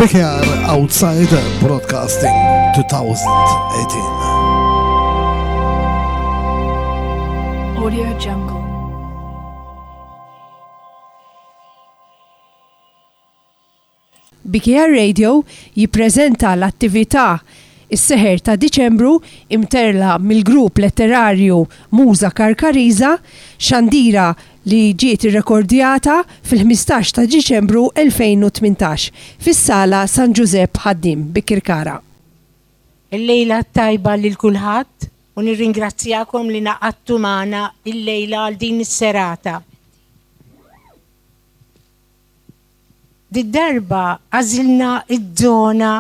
BKR Outside Broadcasting 2018. Audio Jungle. BKR Radio jippreżenta l-attività Is-Seħer ta' Diċembru imterla mill-grupp letterarju Muża Karkariża, xandira li ġiet irrekordjata fil-15 ta' Diċembru 2018 fis-Sala San Ġużepp Ħaddiem, Bikirkara. Il-lejla t-tajba lil kulħadd u nirringrazzjakom li ngħaqadtu magħna illejla għal din is-serata. Did-darba għażilna ż-żona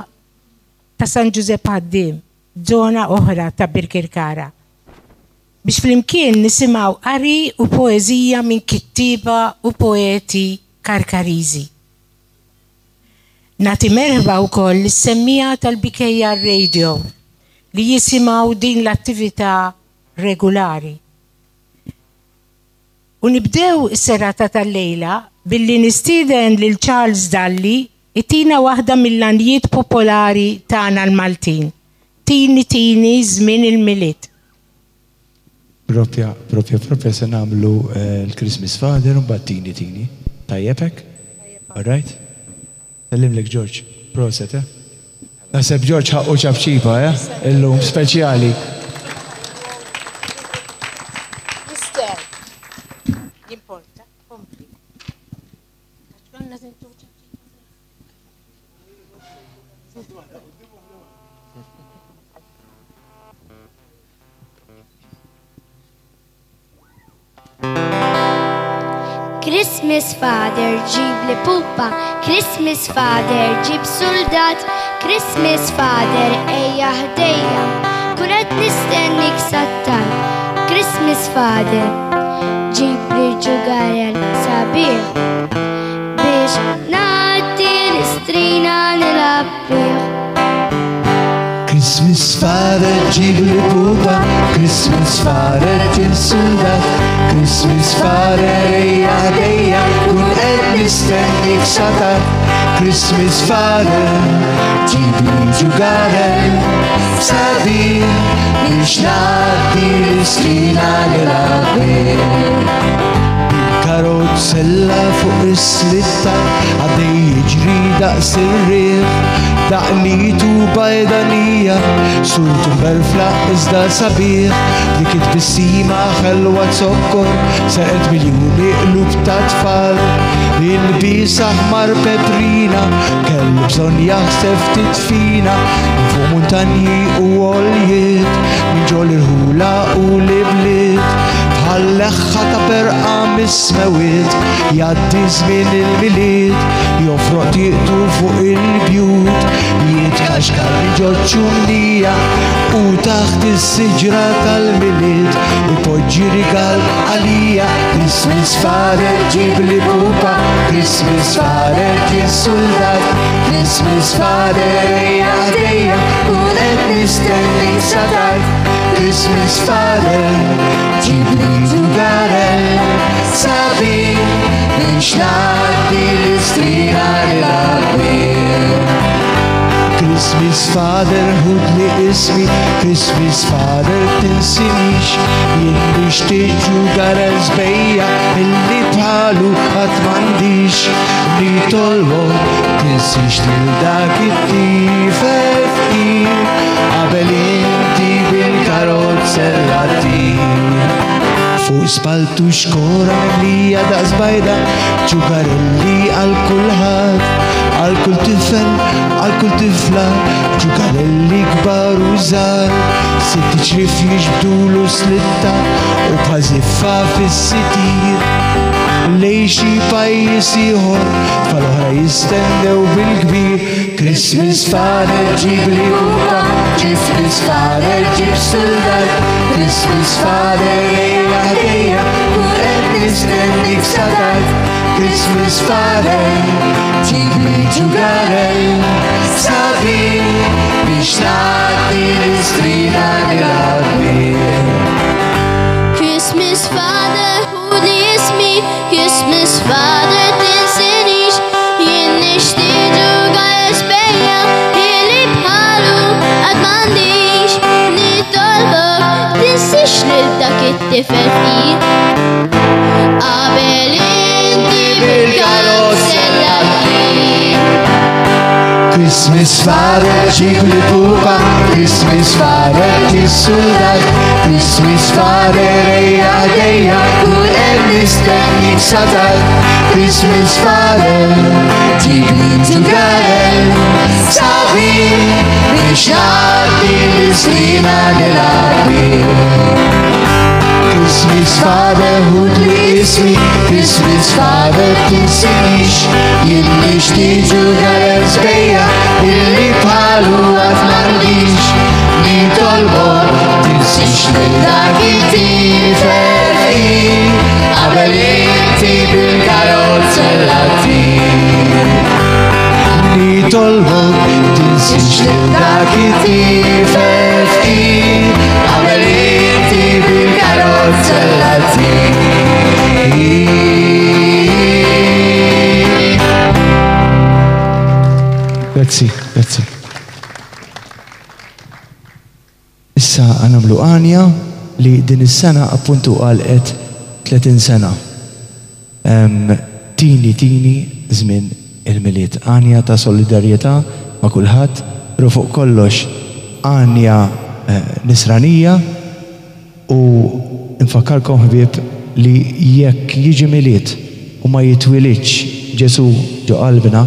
ta' San Ġużepp Ħaddiem, żona oħra ta' Birkirkara, biex flimkien nisimgħu qari u poeżija minn kittieba u poeti Karkariżi. Nagħti merħba wkoll lis-semmiegħa tal-BKR Radio li jisimgħu din l-attività regulari. U nibdew is-serata tal-lejla billi nistieden lil Charles Dalli jtina waħda mill-għanjiet popolari tagħna l-Maltin, Tini Tini Żmien il-Milied. Propja, propja, propja se nagħmlu l-Christmas Father u mbagħad Tini Tini. Tajjeb hekk? All right? Sellimlek George. Proset, eh? Naħseb George ħaqqu ċapċipa, eh? Illum speċjali. Mister, jimporta, kompli. Għax konna tintu ċapċipa. Christmas Father ġib li pupa, Christmas Father ġib soldat, Christmas Father ejja ħdejja, kun qed nistennik sattar. Christmas Father ġib li ġugarel sabiħ biex ngħaddi l-istrina nilgħab bih. Christmas Father ġibli pupa, Christmas Father ġib suldat, Christmas Father ejja ħdejja, kun qed nistennik satar. Christmas Father ġibli ġugarel, sabiħ biex ngħaddi l-istrina nilgħab Karozzella fuq is-slitta għaddej jiġri daqs ir-riħ, daqnitu bajdanija, surtu mberfla iżda sabiħ, dik it-tbissima ħelwa zokkor, serqet miljuni qlub ta' tfal. Il-lbies aħmar peprina, kellu bżonn jaħseb ftit fina, minn fuq muntanji u għoljiet, minn ġol irħula u l-ibliet. Bħal leħħa ta' perqa mis-smewwiet, jgħaddi żmien il-Milied, jofroq tieqtu fuq il-bjut, jitkaxkar minn ġoċ-ċumnija u taħt is-siġra tal-Milied ipoġġi rigal għalija. Christmas Father ġibli pupa, Christmas Father ġie suldat, Christmas Father ejja ħdejja, kun qed nistennik sa tard. Christmas Father, ġibli ġugarell sabiħ biex ngħaddi l-istrina nilgħab Christmas Father, ħudli ismi, Christmas Father, tinsinix, jien nixtieq ġugarell sbejja illi bħalu qatt m'għandix. Nitolbok tinsiex lil dak it-tifel fqir qabel inti bil-karozzella ttir. Fuq spaltu xkora mimlija daqs bajda, ġugarelli għal kulħadd, għal kull tifel, għal kull tifla, ġugarelli kbar u żgħar, sitt ċrif jiġbdulu slitta u bħal żiffa fis-sitir. Lejn xi pajjiż ieħor, tfal oħra jistennew bil-kbir. Christmas Father ġibli pupa, Christmas Father ġib suldat, Christmas Father ejja ħdejja, kun qed nistennik sa tard. Christmas Father ġibli ġugarell sabiħ biex ngħaddi l-istrina nilgħab bih. Christmas Father ħuli ismi, Christmas Father tinsinix, jien nixtieq ġugarell. tifel fqir. Qabel inti bil-karozzella ttir. Christmas Father ġib li pupa, Christmas Father ġib suldat, Christmas Father ejja dejja, kull hemm mistenni satal, Christmas Father ġib li ġugarel, sabiħ biex jgħaddi l-islima nilgħab Christmas Father ħud li ismi, Christmas Father tinsinix, jien nixtieq ġugarel sbejja, illi bħalu għad m'għandix, nitolbok tinsix lil dak it-tifel fqir, qabel inti bil-karozzella ttir. Nitolbok tinsix lil dak it-tifel fqir, qabel inti bil-karozzella ttir. Grazzi, grazzi. Issa għanamlu għanja li din is-sena appuntu għalqet 30 sena. Tini tini żmien il-Milied. Għanja ta' solidarjetà ma' kulħadd, però fuq kollox għanja nisranija u nfakkarkom ħbieb li jekk jiġi Milied u ma jitwilidx Ġesù ġo qalbna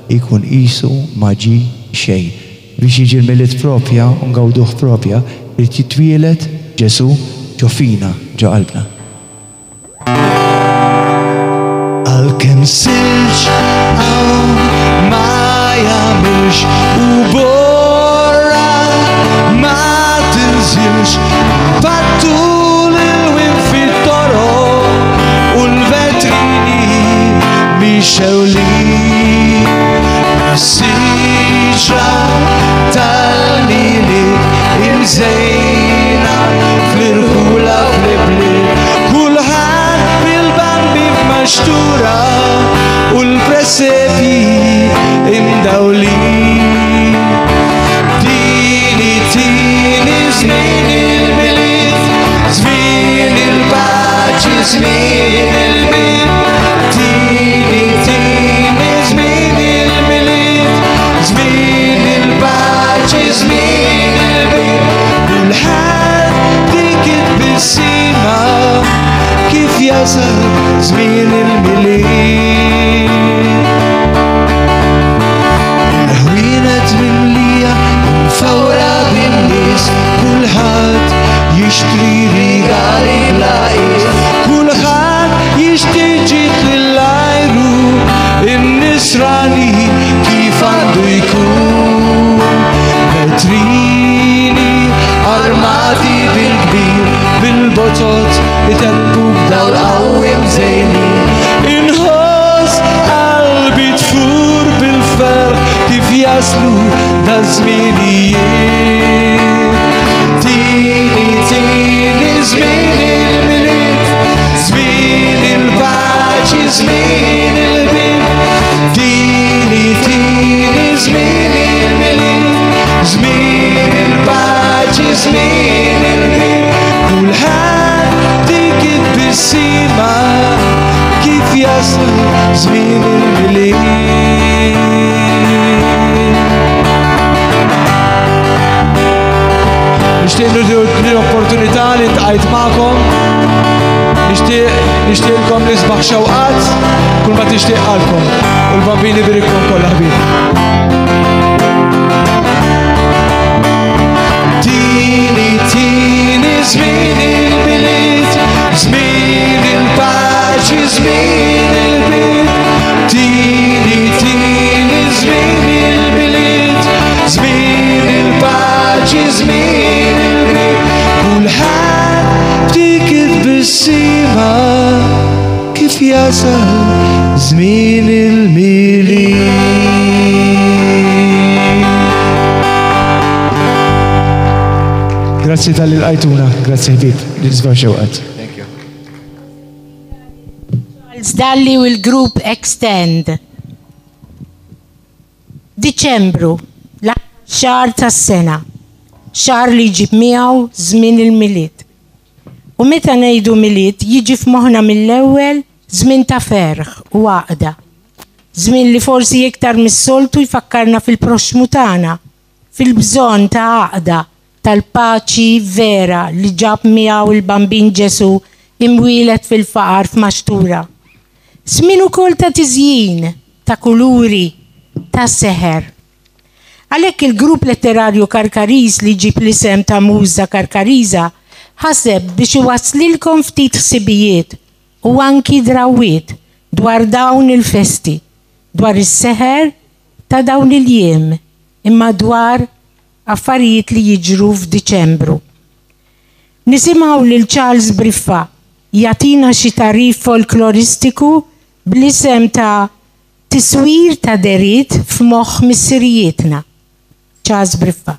jkun qisu ma ġie xejn. Biex jiġi l-Milied propja u ngawduh propja, irid jitwieled Ġesù ġo fina, ġo qalbna. Għalkemm silġ hawn ma jagħmilx u borra ma tinżilx, pattu l-ilwien fit-toroq u l-vetrini mixewlin. Siġra tal-Milied imżejna fl-irħula fl-ibliet, kulħadd bil-bambi f'maxtura u l-presepji imdawlin. Tini, tini, żmien il-Milied, żmien il-paċi, żmien il-bid. Tini, tini, żmien il-Milied, żmien il-paċi, żmien il-bid. Kulħadd dik it-tbissima kif jasal żmien il-Milied. Il-ħwienet mimlija mfawra bin-nies, kulħadd jixtri rigali bla qies, kulħadd jixtieq ġid lill-ajru, in-nisrani kif għandu jkun. Vetrini armati bil-kbir, bil-botot itebbu b'dawl qawwi mżejnin. Inħoss qalbi tfur bil-ferħ kif jaslu da żminijiet. Tini, tini, żmien il-Milied, żmien il-paċi, żmien il-bid. Tini, tini, żmien il-Milied, żmien il-paċi, żmien il-bid. Kulħadd dik it-tbissima kif jasal żmien il-Milied. Nixtieq nużu l-opportunità li ntqajt magħkom. Nixtieq nixtieqlkom l-isbaħ xewqat kull ma tixtieq qalbkom u l-Bambin ibirikkom kollha ħbieb. Tini, tini, żmien il-Milied, żmien il-paċi, żmien il-bid. Tini, tini, żmien il-Milied, żmien il-paċi, żmien il-bid. Kulħadd b'dik it-tbissima kif jasal żmien il-Milied. Grazzi talli lqajtuna, grazzi ħbieb, l-isbaħ xewqat. Thank you. Charles Dalli u l-grupp Extend. Diċembru, l-aħħar xahar tas-sena, xahar li jġib miegħu żmien il-Milied. U meta ngħidu Milied jiġi f'moħħna mill-ewwel żmien ta' ferħ u għaqda. Żmien li forsi iktar mis-soltu jfakkarna fil-proxxmu tagħna, fil-bżonn ta' għaqda, tal-paċi vera li ġab miegħu l-Bambin Ġesù imwieled fil-faqar f'maxtura. Żmien ukoll ta' tiżjin, ta' kuluri, ta' seħer. Għalhekk il-grupp letterarju Karkariż li jġib l-isem ta' Muża Karkariża ħaseb biex iwasslilkom ftit ħsibijiet u anki drawwiet dwar dawn il-festi, dwar is-seħer ta' dawn il-jiem imma dwar affarijiet li jiġru f'Diċembru. Nisimgħu lil Charles Briffa jagħtina xi tagħrif folkloristiku bl-isem ta' Tiswir ta' dehriet f'moħħ missirijietna. Charles Briffa.